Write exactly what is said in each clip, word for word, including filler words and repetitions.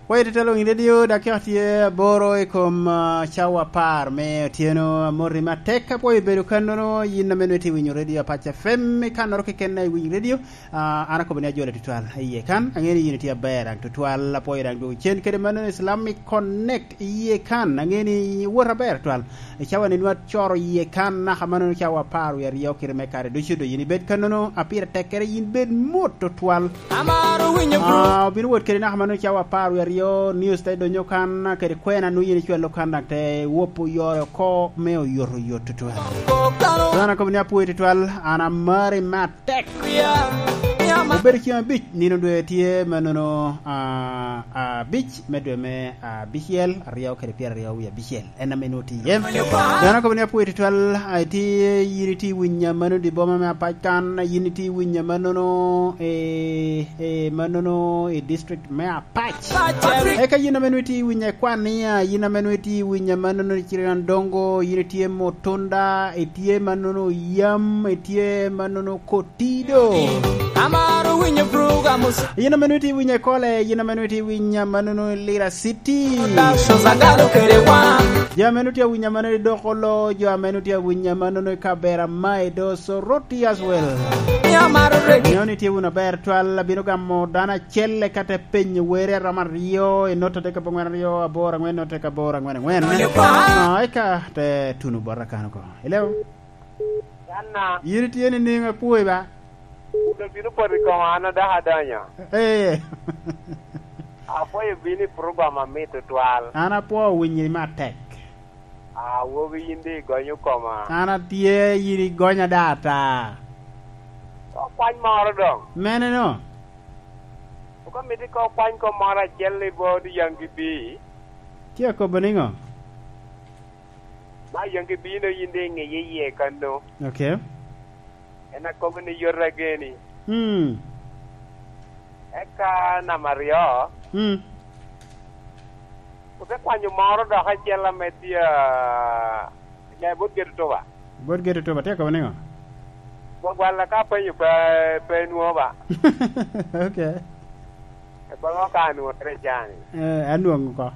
Pwoyo tutwal Winy Radio, dakika tye aboro i kom, ah, cawa apar me otyeno. Amoti matek, apwoyo bedo kannono, yin ame nwoŋo itye winyo Radio Apac F M, i kannoro keken i Winy Radio. Ah, an akobo ni ajole tutwal iye kan, aŋeo ni yin itye aber daŋ tutwal, apwoyo daŋ dwogo cen kede mano Islamic Connect iye kan, aŋeo ni iwot aber tutwal. I cawa ni nwa coro iye kan naka mano cawa apar wie aryo kite me kare ducu, do yin ibed kannono, a pire tekkere yin bed mot tutwal. Amaro winyo bro. Ah, obino wot kede naka mano cawa apar wie aryo, news te donyo kan, kede kwena nwo yin icwalo kan, dok te wopo yore oko me oyoto yot tutwal. Dano akobo ni apwoyo tutwal, an amari matek. Obedo ceng abic, nino dwe tye manono, ah, abic me dwe me abicel, aryo kede pyeraryo wie abicel. En ame nwoŋo tye iye. Dano akobo ni apwoyo tutwal, ah, itye, yin itye i winya mano di boma me Apac kan, yin itye i winya manono, eh, eh, manono i district me Apac. Eka yin ame nwoŋo itye i winya i Kwania, yin ame nwoŋo itye i winya manono i Cirinandongo, yin itye Mutunda, itye manono Yam, itye manono Kotido. Amaro winyo program. Yin ame nwoŋo itye i winya i Kole, yin ame nwoŋo itye i winya manono i Lira City. Productions agalo kede wan. Jo ame nwoŋo tye i winya manono i Dokolo, jo ame nwoŋo tye i winya manono i Kabera, Maedo, Soroti as well. Ni amaro reggae. Nwoŋo itye wunu aber twal, abino gamo dano acel eka te penyo were aromo aryo, i nota adek abongwen aryo, aboro angwen, nota adek aboro angwen angwen. Ah, eka te tuno bota kan oko. Hello? Yan na? Yin itye nining, apwoyi ba? Kuno bino poto i koma, an adako adonyo. Eh. Apwoyo bino i program amit tutwal. An apwoo winyi matek. Awobi, yin di igonyo koma. An atye, yin igonya da ata. Okwany moro doŋ. Mene no? Oka miti ka okwany kom moro acel i bot Yaŋ Gibi. Tye akobo niŋo? Ma Yaŋ Gibi no yin di iŋeye iye kanno. Ok. En akobo ni yot ageni. Mm. Eka namba aryo, mm, ote kwanyo moro dok acel ame tye, ah, ame bot geto tuba. Bot geto tuba, tye akobo niŋo? Gwagwalla ka apenyo pe, pe nwoŋo ba. Ok. Eboŋo ka anwoŋere cani. Eh, anwoŋo oko.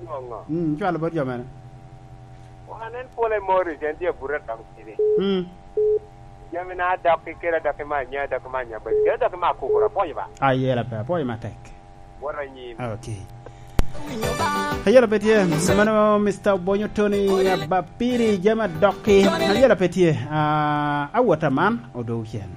Anwoŋo. Mm, cwalo bot jo mene. Wan en pole Morris, en tye abuto adoŋo tidi. Mm. Jami na adokki kede adokki me anya, adokki me anya, kede adokki me akukura, apwonyo ba. Ayela pe, apwonyo matek. Wot anyim. Ok. Ayela pe tye, mano Mister Obonyo Tony Abapiri, jami adokki. Ayela pe tye, ah, awot aman, odogo cen.